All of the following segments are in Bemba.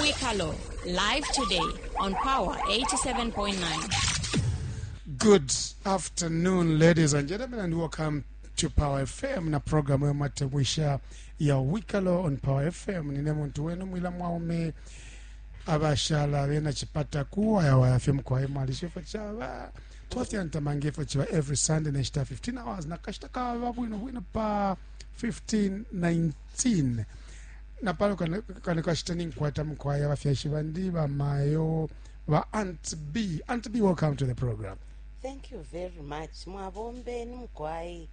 Mwikalo, live today on Power 87.9. Good afternoon, ladies and gentlemen, and welcome to Power FM na programu ya matemwisha ya Wikalo on Power FM. Nine muntu wenu mwila mwaume abashala bena chipata kuwaya waya fye mukwaye mwalisha ifo chaba twafyantamanga ifo chiba every Sunday neshita 15 hours na kashita kaba bwino bwino pa 15:19 na pano kano kashita ninkwata mukwaya abafyashi bandi bamayo ba Aunt B. Aunt B, welcome to the program. Thank you very much. Mwabombeni mukwai.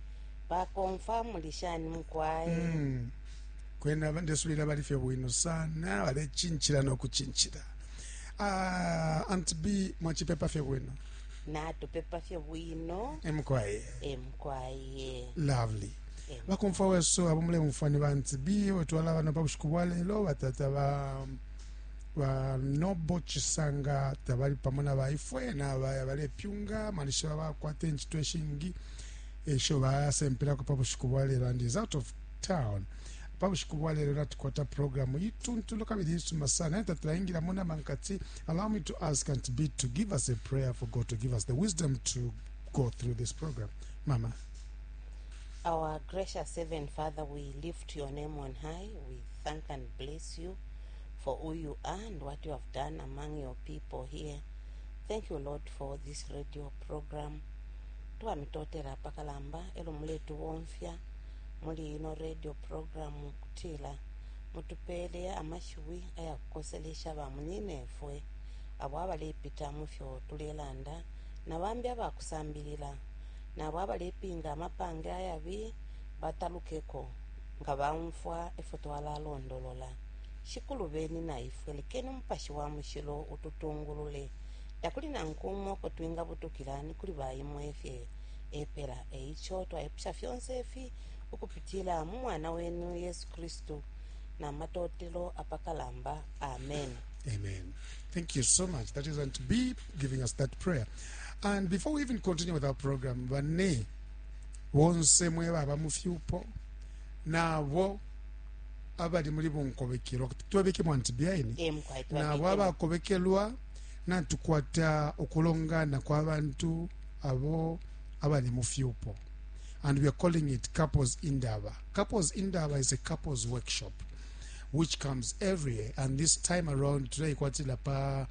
Bakomfa muli shani mukwai. Kwena ndesulila bali fye bwino sana, balechinchila no kuchinchila. Aunt B, mwachipepa fye bwino. Natupepa fye bwino. Emukwai. Emukwai. Lovely. Bakomfa weso abo mulemufwa ni ba Aunt B, wetwala bano pa bushiku bwa lelo batata ba ba Nobo Chisanga tabali pamo na baifwe na baya balepyunga malisha bakwata enchito eshingi esho basempelako pa bushiku bwa lelo and is out of town. Pa bushiku bwa lelo natukwata programu ituntulo kabili isuma sana eta tulaingilamo na mankati. Allow me to ask Aunt B to give us a prayer for God to give us the wisdom to go through this program. Mama. Our gracious Heaven Father, we lift your name on high. We thank and bless you for who you are and what you have done among your people here. Thank you, Lord, for this radio program. Twamitotela pakalamba elo muletubomfya muli ino radio program kutila mutupele amashiwi ayakukoselesha bamunyinefwe abo abalepita mufyo tulelanda na bambi abakusambilila nabo abalepinga amapange ayabi batalukeko nga baumfwa efyo twalalondolola. Shikulu beni na ifwe lekeni umupashi wa mushilo ututungulule takuli nangu umo uko twingabutukila ni kuli baimwe fye epela. Eico twaipusha fyonse ifi ukupitila mu mwana wenu Yesu Kristu na matotelo apakalamba. Amen. Amen. Thank you so much. That is Aunt B giving us that prayer. And before we even continue with our program, bane bonse mwe baba mu fyupo nabo abali muli bunkobekelwa twabike mu Aunt B aini Emukwai nabo twabikemo. abakobekelwa natukwata ukulongana kwa bantu abo abali mu fyupo, and we are calling it Couples Indaba. Couples Indaba is a couples workshop which comes every year, and this time around today kwatila pa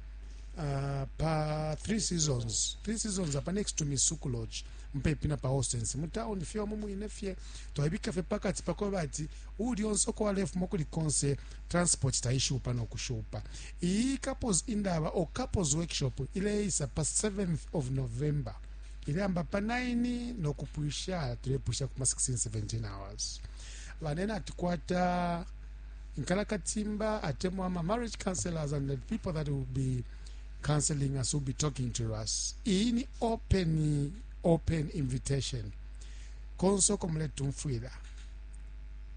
pa three seasons, three seasons apa next to Misuku Lodge mupepi na pa Hostens mu town fye omu mwine fye twabika fye pakati pako bati uli onse uko walefuma kuli konse transport taishupa no kushupa. Iyi Couples Indaba or Couples Workshop ileisa pa 7th of November ileamba pa 9 no kupwisha tulepwisha kuma 16 17 hours. Banene atukwata Nkalakatimba atemwa ama marriage counselors and the people that will be counseling us will be talking to us. Iyi ni open invitation. Konso ko muletumfwila.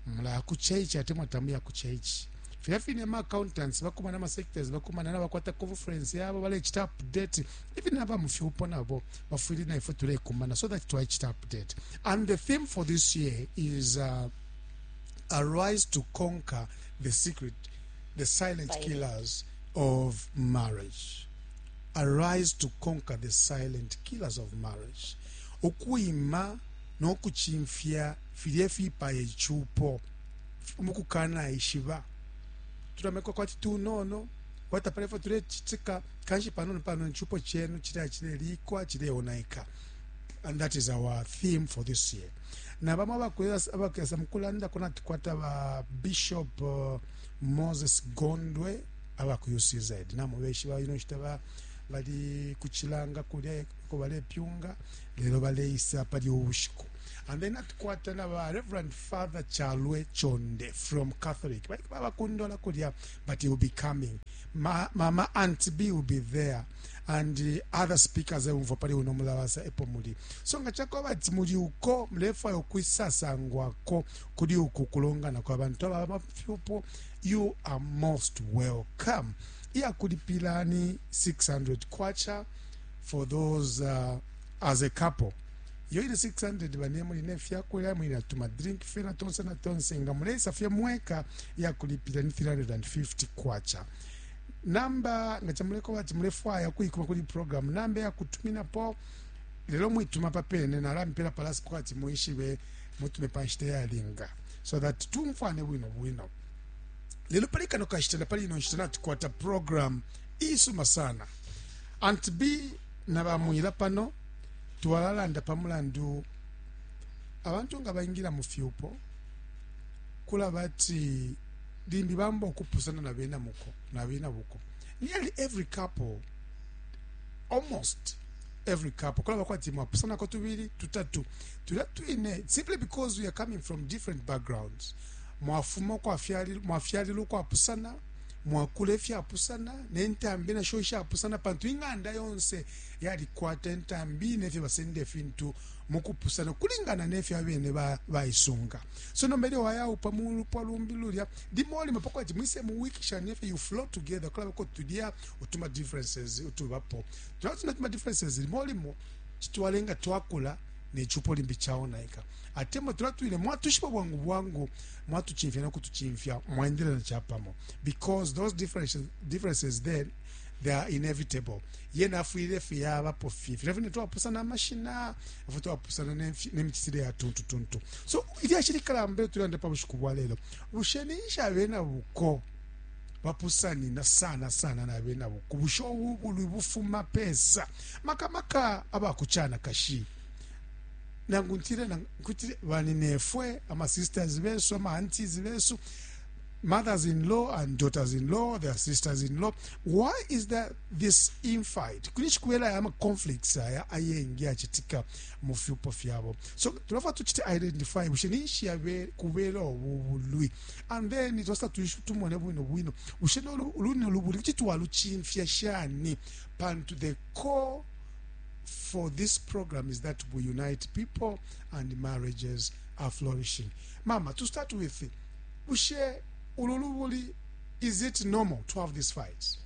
Mula ku church atemwa tamu ya ku church. Filya fine ama accountants bakumana ama sectors bakumana na bakwata conference yabo balechita update. Even aba mufyupo nabo bafwile na ifwe tulekumana so that twaichita update. And the theme for this year is arise to conquer the secret, the silent Silent. killers of marriage. Arise to conquer the silent killers of marriage. Ukuima no kuchimfya filye fipaye ichupo mukukana ishiba tulamekwa kwati tunono watapalefa tulechitika kanshi panono panono ichupo chenu chile chilelikwa chileonaika. And that is our theme for this year. Na bamwe abakweza mukulanda kuna tukwata ba Bishop Moses Gondwe aba ku UCZ namo beshi ba ino shita ba bali kuchilanga kulya ko balepyunga lelo baleisa pali ubushiku. And then atukwata na ba Reverend Father Chalwe Chonde from Catholic bali baba kundola kulya, but he will be coming. Mama Aunt B will be there and the other speakers umva pali uno mulabasa epo muli. So nga chako bati muli uko mlefa okwisasangwako kuli uku kulongana kwa bantu aba mafyupo, you are most welcome. Iya kulipila ni 600 kwacha for those as a couple. Yo ile 600 bane muli ne fyakulya muli na tuma drink fye na tonse na tonse nga mulesa fye mweka ya kulipila ni 350 kwacha. Namba nga camuleko ati mulefwaya kuikuma kuli program, namba ya kutuminapo lelo mwituma papene nalampela palasi ati muishibe mutume pa nshita yalinga so that tumfwane bwino bwino. Lelo pali kano kashita na pali ino nshita natukwata program isuma sana. Aunt B na bamwila pano twalalanda pa mulandu abantu nga baingila mu fyupo kulaba ati limbi bamba okupusana na bena muko na bena buko. Nearly every couple, almost every couple, kulaba kwati mwapusanako tubili tutatu tulya twine simply because we are coming from different backgrounds. Mwafuma mwafyalilwa ukwapusana, mwakula ifyapusana nentambi nasho ishapusana, pantu ing'anda yonse yalikwata intambi nefyo basenda ifintu mukupusana kulingana nefyo abene baisunga. So nomba ilyo wayaupa mulupwa lumbi lulya limo limo pakwati mwise muwikishanye ifyo you flow together, kulabako tulya utuma differences utubapo tulya tuna tuma differences limo limo chitwalenga twakula nechupo limbi chaonaika atemwa tulya twine mwatushipa bwangu bwangu mwatuchimfya nokutuchimfya mwaendelea chapamo because those differences then they are inevitable. Yena afwile fyabapo fye fine twapusana amashina afu twapusana nemichitire ya tuntu tuntu. So ilyashi likalamba tulanda pa bushiku bwa lelo, bushe nisha abena buko bapusanina sana sana na abena buko, bushe ubulwi bufuma pesa maka maka abakuchana kashi nangu ntire nkutire baninefwe ama sisters besu ama aunties besu, mothers-in-law and daughters-in-law, their sisters-in-law. Why is there this infight? Kulishi kuwela ama conflicts aya ayengi achitika mu fyupo fyabo. So tulafa tuchite identify bushe nishi yabe kubela obulwi. And then it was tumone bwino bwino. Bushe no luni lubuli chitwa luchimfya shani pantu the core for this program is that we unite people and marriages are flourishing. Mama, to start with, bushe ululubuli, is it normal to have these fights?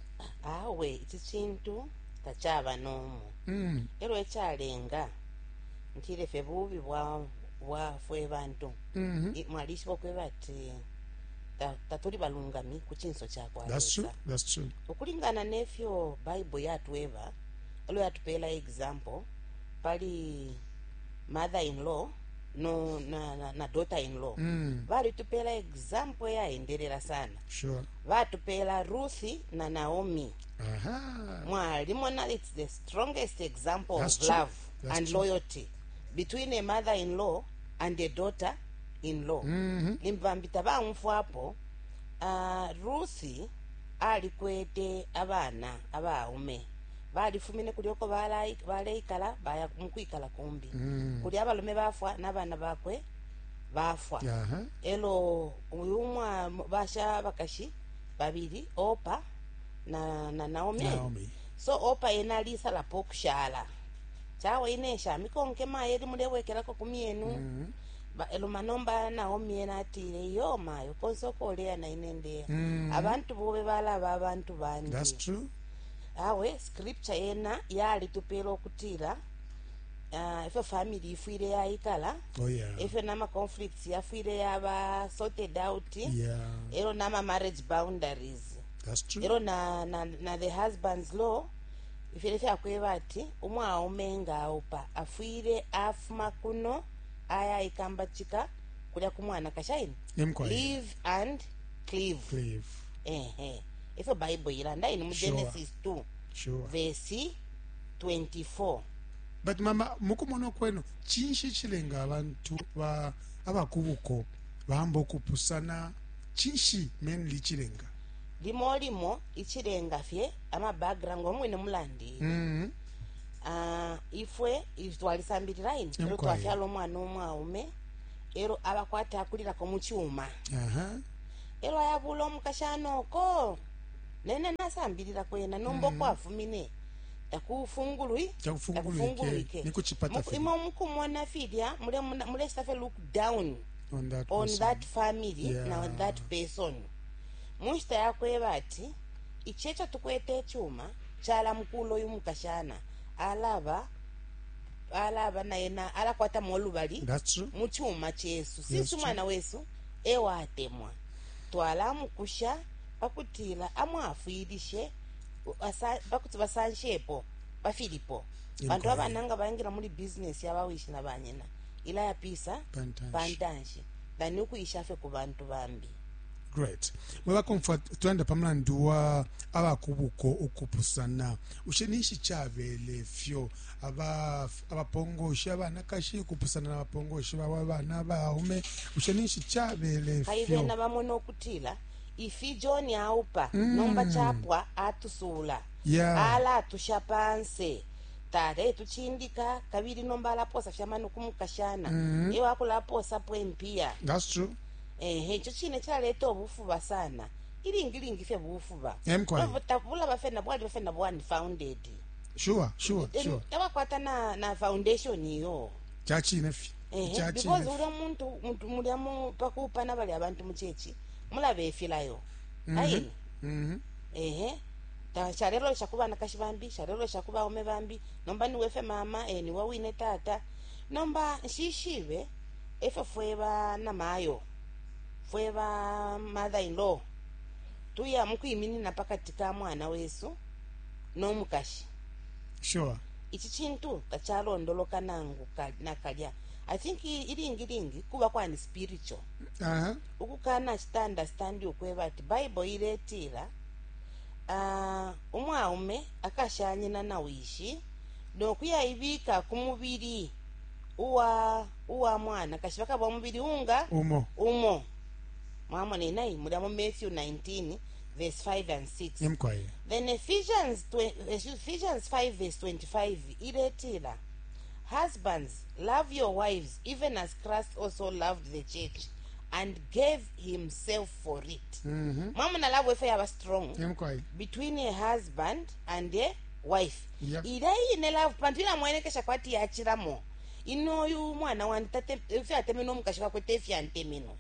Awe, ichi chintu tachaba normal. Ero echalenga ntire fe bubi bwa fwe bantu. Mwalishibo kwe bati tatuli balungami ku chinso cha kwa. That's true. That's true. Ukulingana nefyo Bible yatweba, elo yatupela example pali mother-in-law no na daughter-in-law. Balitupela example yaendelera sana. Sure. Batupela Ruth na Naomi. Aha. Mwalimona, it's the strongest example That's of true. love That's and true. loyalty between a mother-in-law and a daughter-in-law. Limbambita bamfwapo Ruth alikwete abana abaume balifumine kulyoko baleikala baya mukwikala kumbi. Kuli abalume bafwa n'abana bakwe bafwa. Elo uyu mwa basha bakashi babili Opa na Naomi. So Opa ena alisala pokushala chawe inesha mikonke maye limulewekelako kumienu. Elo manomba Naomi ena atile yo mayo konsokolea na inendea. Abantu bobe balaba abantu bandi. That's true. Awe scripture ena yalitupela okutila ifyo family ifwile yaikala. Oh yeah. Ifyo nama conflicts yafwile yaba sorted out. Yeah. Ero nama marriage boundaries. That's true. Ero na the husband's law ifile fyakweba ati umwaume nga aupa afwile afuma kuno aya ikambachika kulya kumwana kashaini. Live and cleave. Cleave. Ehe. Ifyo Bible ilanda ini mu Genesis 2. Sure. Verse 24. But mama mukumona kwenu chinshi chilenga abantu ba abakubuko bambo kupusana chinshi mainly chilenga? Limo limo ichilenga fye ama background omwine mulandi. Ifwe twalisambirira ini ero twafyala omwana omwaume ero abakwata akulirako mu kyuma. Ero ayabula omukashana oko nene nasambirira kwena nomba kwafumine takufungulwike nikuchipata fili imo mukumona filya mule safe look down on that, on that family. Yeah. Na on that person munshita yakweba ati ichecho tukwete chuma chala mkulo uyu mukashana alaba naye alakwata molubali muchuma chesu sisi mwana wesu ewa atemwa twala mukusha Pakutila amwafwilishe pakuti basanshepo pafilipo. Pantu abana nga baingila muli business ya bawishi na banyina, ilayapisa pantanshi than ukuisha fye ku bantu bambi. Great. Mwe bakomfwa, tulanda pa mulandu wa abakubuko ukupusana. Bushe ninshi cabele fyo abapongoshi abanakashi ukupusana na bapongoshi babo abana abaume? Bushe ninshi cabele fyo? Kaibena bamona ukutila ifi John aupa nomba chapwa atusuula. Alatusha panse. Taletucindika kabili nomba alaposa fye amano ku mukashana. E wakulaposapo impiya. That's true. Ehe, ico cine cilaleta ubufuba sana. Ilingi lingi fye bufuba. Emkwai. Bulaba fye na bwaliba fye na bwa unfounded. Sure. Tabakwata na foundation iyo. Ca cine fye. Ehe, Ca because cine fye. ulya muntu mulya mu pakuupana balya abantu mu church mulaba ifilayo. Aini. Ehe. Ta shalelolesha ku banakashi bambi, shalelolesha ku baume bambi. Nomba niwe fye mama, niwe wine tata. Nomba nshishibe efyo fwe ba namayo, fwe ba mother in law, tuya mukwiminina pakati ka mwana wesu no mukashi. Ici cintu tacalondoloka nangu nakalya. I think ilingi lingi kuba kwani spiritual. Ukukana cita understand ukweba ati Bible iletila, umwaume akashanyina na wishi no kuyaibika ku mubili uwa mwana kashi bakaba umubili unga umo. Umo. Mwamona inai mulya mu Matthew 19 verse 5 and 6. Yemkwaye. Then Ephesians 5 verse 25 iletila, husbands, love your wives even as Christ also loved the church and gave himself for it. Mwamona love efe yaba strong. Yemkwaye. Between a husband and a wife. Ila ine love pantu ila mwenekesha kwati yachilamo. Ino yu mwana wandi tate efe atemeno mukashi wakwe tefi antemeno.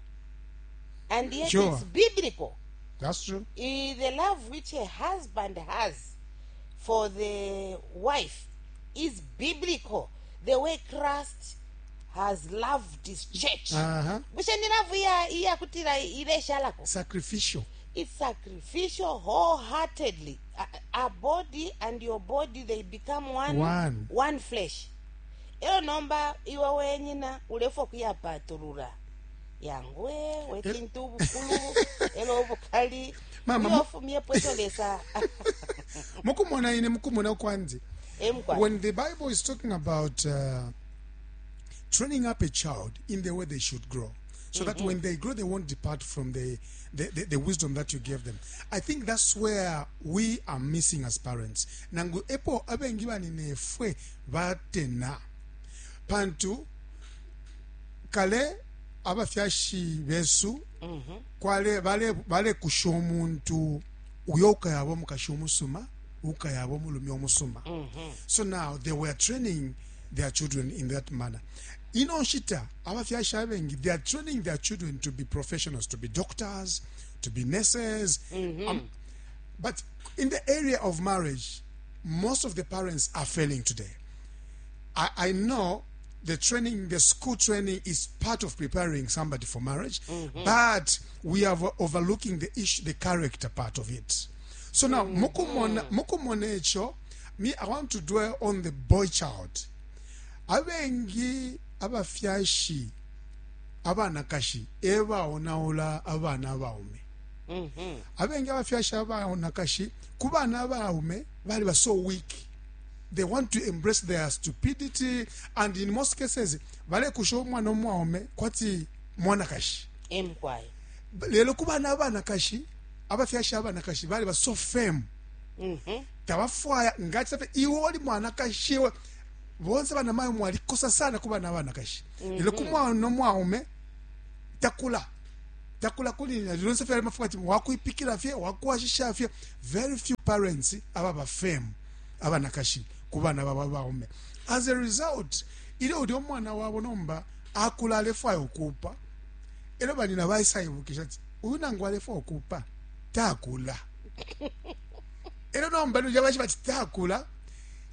And yet it's biblical. That's true. The love which a husband has for the wife is biblical. The way Christ has loved his church. Bushe ni love iya kutila ile shalako. Sacrificial. It's sacrificial wholeheartedly. A body and your body, they become one, one, one flesh. Elo nomba iwe wenyina ulefo kuyapatulula. Yangwe wekintu bukulu elo bukali. Mama, Iyo fumie pweto lesa. Mukumona ine mukumona kwanzi. Emkwa. When the Bible is talking about training up a child in the way they should grow, so that when they grow, they won't depart from the wisdom that you gave them. I think that's where we are missing as parents. Nangu epo abengi bani nefwe batena. Pantu kale abafyashi besu kwale bale kusha omuntu uyo ukayabo mukashi omusuma, ukayabo mulumi omusuma. So now they were training their children in that manner. Ino nshita abafyashi abengi, they are training their children to be professionals, to be doctors, to be nurses. But in the area of marriage, most of the parents are failing today. I know the school training is part of preparing somebody for marriage, but we are overlooking the issue, the character part of it. So now, mukumona echo, me, I want to dwell on the boy child. Abengi abafyashi abanakashi eba onaula abana abaume. Abengi abafyashi abanakashi ku bana abaume bali ba so weak. They want to embrace their stupidity, and in most cases bale kusho umwana omwaume kwati mwanakashi. Emkwai. Lelo ku bana abanakashi abafyashi abanakashi bali ba so firm. Tabafwaya ngati safe iwe oli mwanakashi we bonse bana mayo mwalikosa sana ku bana abanakashi. Lelo ku mwana omwaume takula. Takula kuli na lonse fye mafuka ati wakuipikira fye wakuashisha fye. Very few parents ababa firm abanakashi ku bana baba baume. As a result, ile uli omwana wabo nomba akula alefwaya okupa. Elo banina baisayibukisha ati uyu nangu alefwaya okupa takula. Elo nomba nuje bashi bati takula.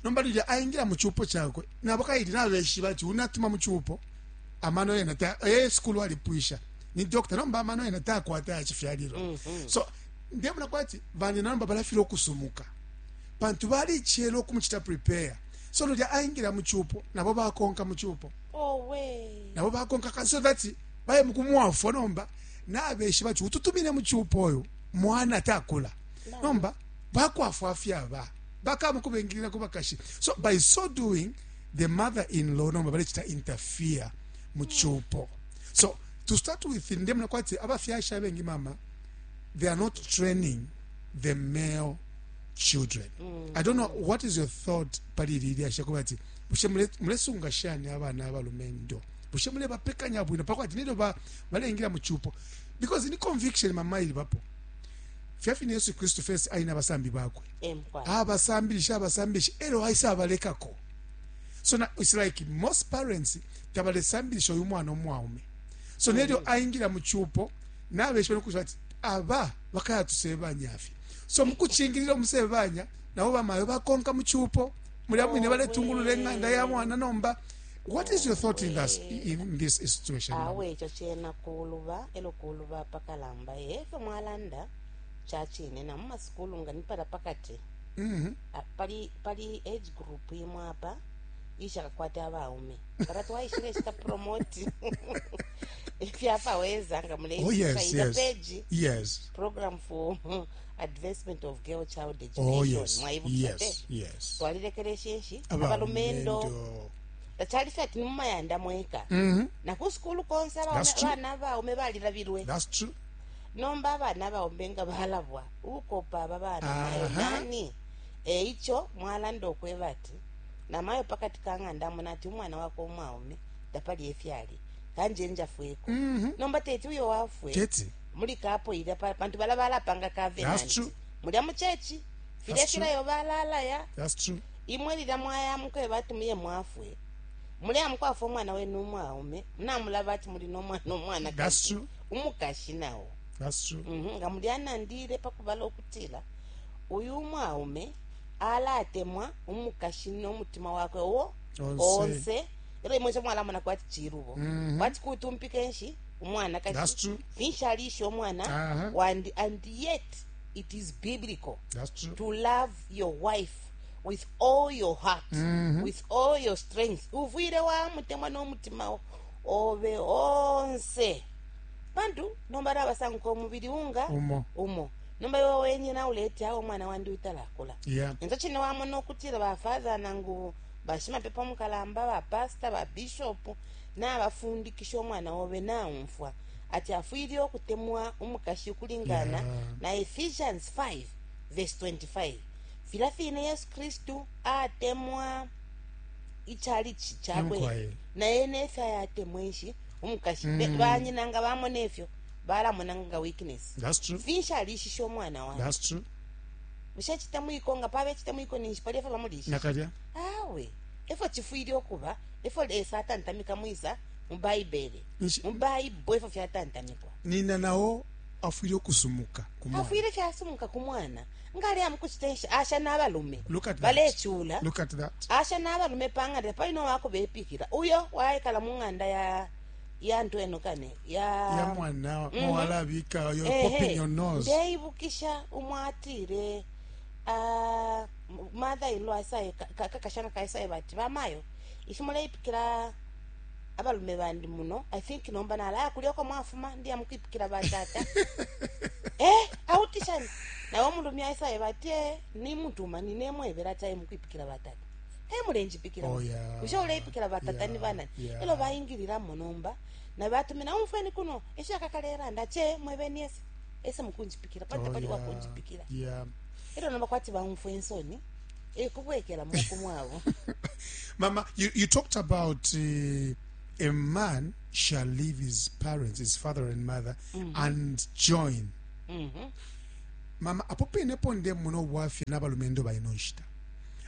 Nomba nuje aingira mu chupo chakwe. Nabo kaili nabeshi bati unatuma mu chupo. Amano yena ta school alipwisha. Ni doctor nomba amano yena takwata ya chifyaliro. So Ndemona kwati banyina nomba balafilwa ukusumuka pantu balicela ukumucita prepare. So lulya aingila mu cupo, nabo bakonka mu cupo. Owe. Nabo bakonka so that baye mukumwafwa. Nomba nabeshiba ati ututumine mu cupo uyu mwana takula, nomba bakwafwa fyaba bakamukubengilila ku bakashi. So by so doing, the mother in law nomba balecita interfere mu cupo. So to start with, ndemona kwati abafyashi abengi, mama, they are not training the male children. I don't know what is your thought pali ili lyashi, kuba ati bushe mulesunga shani abana abalumendo? Bushe mulebapekanya bwino pakwati nelyo balengila mu cupo? Because ni conviction, mama, ilibapo fyafine Yesu Kristu first ali n'abasambi bakwe, abasambilisha, abasambilisha, elo aisa abalekako. So na, it's like most parents tabalesambilisha uyu mwana umwaume. So nelyo aingila mu cupo, nabeshiba nokushiba ati aba bakayatusebanya fye. So mukucingilila umusebanya, nabo bamayo bakonka mu cupo mulya mwine, baletungulula eng'anda ya mwana. Nomba what is your thought in this situation? Awe, ico cena kuluba, elo kuluba pakalamba. Efyo mwalanda cacine, na mu masukulu nga nipala pakati pali age group imwe apa ishakakwata abaume, para twaishile cita promote ifyapaweza nga Oh yes yes page program for advancement of girl child education. Mwaibukisha te? Yes. Twalilekelesha nshi abalumendo. Tacali fye ati ni mumayanda mweka, na ku sukulu konse. That's true. Abana abaume balilabilwe. That's true. Nomba abana abaume nga balabwa ukopa aba bana mayo nani eico mwalanda okweba ati namayo pakati ka ng'anda amona ati umwana wakwe umwaume tapali efyali, kanje njafweko. Nomba teti uyo wafwe Teti. muli kapo ilya pantu bala balapanga That's covenant true. mulya mu chechi filya That's true. filayo balalaya. That's true. Imwe lilya mwayamuka batumiye mwafwe, mulya mukwafwa umwana wenu umwaume, namulaba ati muli nomwana umwana That's true. umukashi nawo. That's true. Nga mulyanandile pakubala okutila uyu umwaume alatemwa umukashi n'omutima wakwe wo Onse. Onse, elo imwe mwalamona kwati chilubo, kwati kutumpika enshi umwana That's kashi true. finshi alisha omwana wandi, and yet it is biblical That's true. to love your wife with all your heart, with all your strength. Uvwire wamutemwa n'omutima obe onse, pantu nomba nabasanguka omubiri unga Umo. Umo. Nomba iwe wenyina uleti awo omwana wandi utalakula. Enzo chine wamona okutira bafather nangu bashimapepo mukalamba, bapasta, babishopu nabafundikisha omwana wobe naumfwa ati afwire okutemwa omukashi kulingana na Ephesians 5 verse 25, fila fine Yesu Kristu atemwa ichalichi chakwe Emukwaye. Naye nefyo ayatemwa enshi omukashi. Banyina nga bamona efyo, balamona nga weakness. That's true. Finshi alishisha omwana wange? That's true. Bushe chitemwiko nga paba echitemwiko ninshi pali efyo bamulisha? Nakalya. Awe, efyo chifwire okuba, efyo Lesa atantamika mwisa mu Baibele. Mu Baibo efyo fyatantamikwa. Nina nawo afwire okusumuka ku mwana. Afwire fyasumuka ku mwana nga ali amukuchita enshi asha n'abalume Look at that. balechula. Look at that. Asha n'abalume pang'anda palina owakubepikira uyo waikala mu ng'anda ya ntweno kane ya Ya mwana mwalabika, you're popping your nose. Ndeibukisha umwatile mother in law aisaye kakashana kaisaye bati bamayo ifi muleipikira abalume bandi muno, I think nomba nalaya kulyoko mwafuma ndiya mukwipikira batata. Autishani nawe omulumi aisaye bati nimutuma ninemwebera ati aye mukwipikira batata mulenjipikira. Oh, yeah. Ushe uleipikira batata ni banani? Elo baingiliramo nomba nabatumina umfweni kuno eshakakalera ndache mwebeni ese ese mukunjipikira pali tapali wakunjipikira. Elo nomba kwati baumfwe ensoni ekubwekera muku mwabo. Mama, you talked about a man shall leave his parents, his father and mother, and join. Mama, apo penepo nde muno bwafya n'abalumendo balina nshita.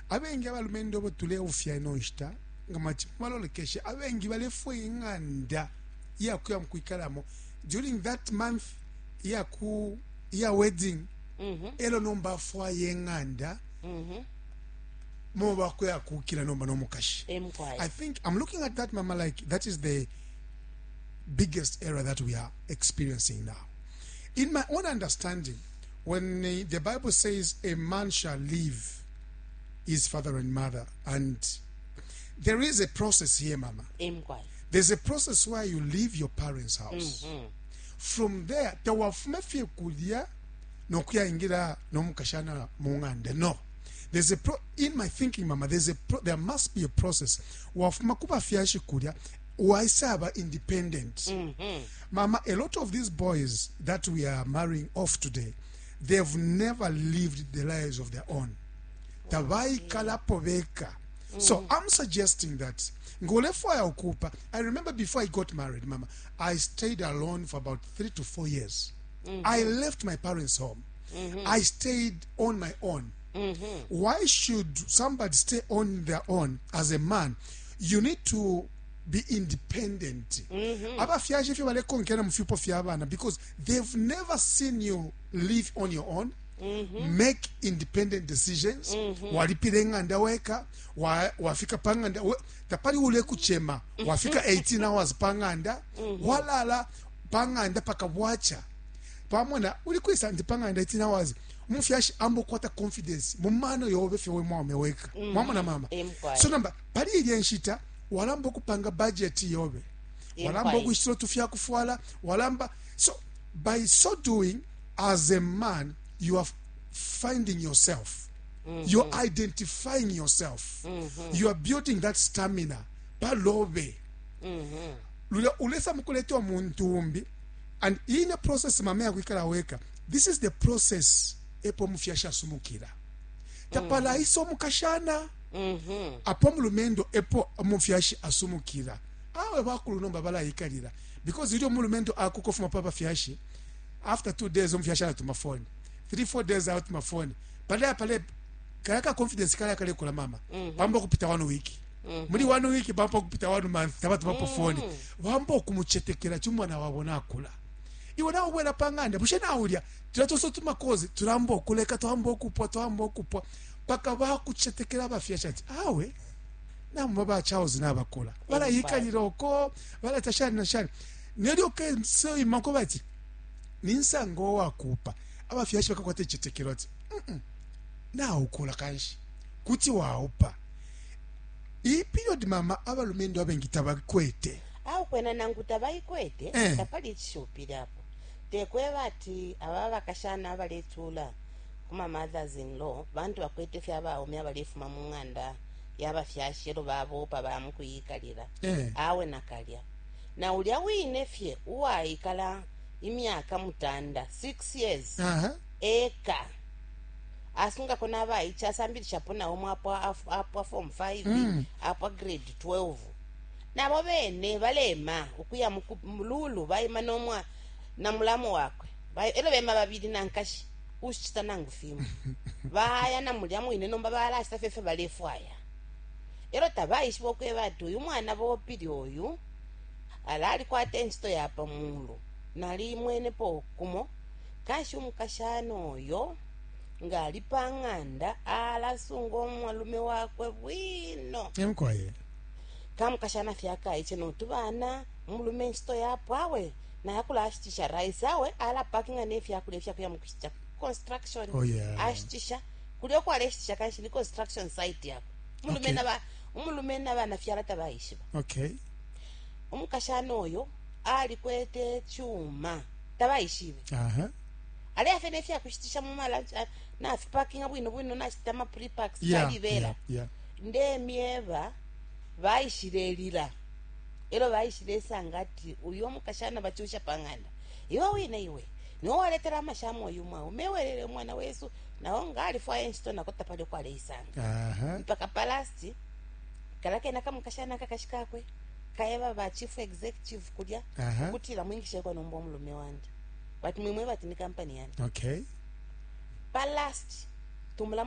Abengi abalumendo bo tuleufya ino nshita nga mati malolekeshe, abengi balefwa ing'anda iyakuya mukwikalamo during that month iyaku iya wedding, elo nomba afwaye ing'anda mo bakuya kukila nomba n'omukashi. Emkwaya. I think I'm looking at that, Mama, like that is the biggest error that we are experiencing now. In my own understanding, When the Bible says a man shall leave his father and mother, and there is a process here, Mama. Emkwai. There's a process where you leave your parents' house. From there, tawafume fye kulya nokuyaingira nomukashana mung'anda. No. There's a pro in my thinking, Mama, there must be a process. Wafuma kubafyashi kulya, waisaba independent. Mama, a lot of these boys that we are marrying off today, they've never lived the lives of their own. Tabaikalapo beka. So I'm suggesting that ngolefwaya ukupa. I remember before I got married, Mama, I stayed alone for about 3 to 4 years. I left my parents' home. I stayed on my own. Why should somebody stay on their own as a man? You need to be independent. Abafyashi fye balekonkera mu fyupo fya bana because they've never seen you live on your own, make independent decisions. Walipira eng'anda weka, wafika pang'anda tapali ule kuchema, wafika 18 hours pang'anda, walala pang'anda paka bwacha pamona uli kwisa ndi pang'anda 18 hours. Umufyashi ambokwata confidence mumano yobe fye we mwaume weka. Mwamona, mama? Emkwai. So namba pali ilye nshita walamba okupanga budget yobe, walamba okushitira otufyakufwala walamba. So by so doing, as a man, you are finding yourself, you're identifying yourself, you are building that stamina palobe lulya ulesa mukuleta omuntu umbi. And ine process, mama, yakwikala weka, this is the process epo omufyashi asumukira tapalaisa omukashana apo omulumendo epo omufyashi asumukira. Awe bakulu nomba balayikalira because ilyo omulumendo akuka ofuma pa bafyashi, after 2 days omufyashi alatuma phone, 3, 4 days alatuma phone pale pale. Kaya ka confidence kala kalekula, mama. Pamba okupita one week, muli one week pamba okupita one month tabatumapo phone, bamba okumuchetekera chumwana wabo nakula. Iwe nawe ubwela pang'anda, bushe naulya tulatosa tumakozi, tulamba okuleka, twamba okupwa, twamba okupwa paka bakuchetekera abafyashi ati awe namwe ba Charles nabakula balayikalira oko balata shani na shani. Nelyo kesoimako bati ninsanga owakupa, abafyashi bakakwata ichitekero ati naukula kanshi kuti waupa. Iyi period, mama, abalumendo abengi tabakwete. Awu kwena nangu tabayikwete, tapali icishupile apo. Tekweba ati aba bakashana abaletula kuma mothers in law bantu bakwete fye abaume abalefuma mu ng'anda yabafyashi elo babopa bamukuyikalira. Awe nakalya na ulya wine fye uwayikala imyaka 9, 6 years eka, asungako n'abaiche, asambilishapo nawo mwapwa apwa form 5, apwa grade 12, nabo bene balema ukuya mululu bayima nomwa na mulamu wakwe. Elo bema babili nankashi ushita nangu fimo baya na mulya mwine nomba balashita fefe balefwaya. Elo tabaishiba okweba ati uyu mwana bopili oyu ala alikwata enchito yapa mulu nalimwenepo kumo. Kanshi umukashana oyo ng'ali pang'anda alasunga omwalume wakwe bwino. Emkwaye. Kamukashana fyakaiche notubana mulume enchito yapo awe naye akulashitisha rice, awe alapakinga nefyakulya ifyakuya mukushitisha construction. Ashitisha kulya okwaleshitisha kanshi ni construction site yakwe umulume. Umulume nabana fyala tabaishiba. Umukashana oyo alikwete chuma tabaishibe. Aleafe nefyakushitisha mumala nafipakinga bwino bwino nashita ama prepacks kalibela. Ndemyeba baishile lila elo baishile sanga ati uyo mukashana bachusha pang'anda. Iwe wine iwe niwe waletera amashamu oyu mwawu mewelele umwana wesu nawo ngalifwaya enchito nako tapali okwaleisanga. Mpaka palasti kala kena kamukashana kakashi kakwe kaeba ba chief executive kulya kutila mwingisheko nomba omulume wandi bati mwimwe bati ni kampani yandi. Palast tumulamu.